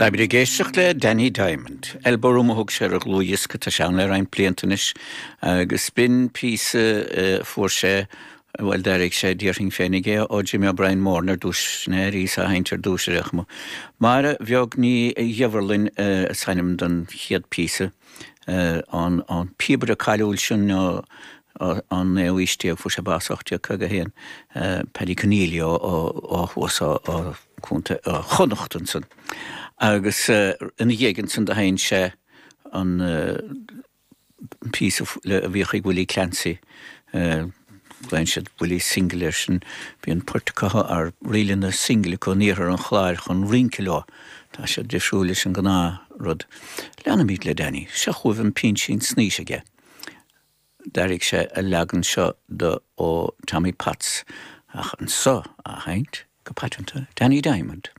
Táimid ag éisteacht le Danny Diamond. Elbow Room a thug sé ar a dhlúthdhiosca, tá sé ann le roinnt blianta anois, agus b'in píosa a fuair sé, bhuel, d'airigh sé, déarfainn féinig é, ó Jimmy O'Brien Moran ar dtús, sin é a bhíos á sheinnt ar dtús ar aon chuma. Máire Bheag Ní Dhiorbharlainn is ainm don chéad phíosa, an píobaire cáiliúil sin ó an naoú haois déag, fuair sé bás 1851, Paddy Conneely ó thuas ó Chontae Chonnacht ansan. Agus ina dhiaidh ansan do sheinn sé an píosa a bhíodh ag Willie Clancy, glaonn siad Willie Single air sin, bíonn poirt acu, ar ríleanna single acu in iarthar an Chláir chun rince leo. Tá siad difriúil leis an gnáth rud. Leanfaimid le Danny. Seo chugaibh an Pinsean Snaoise aige. D'airigh sé a leagan seo de ó Tommy Potts, ach anso á sheinnt go paiteanta, Danny Diamond.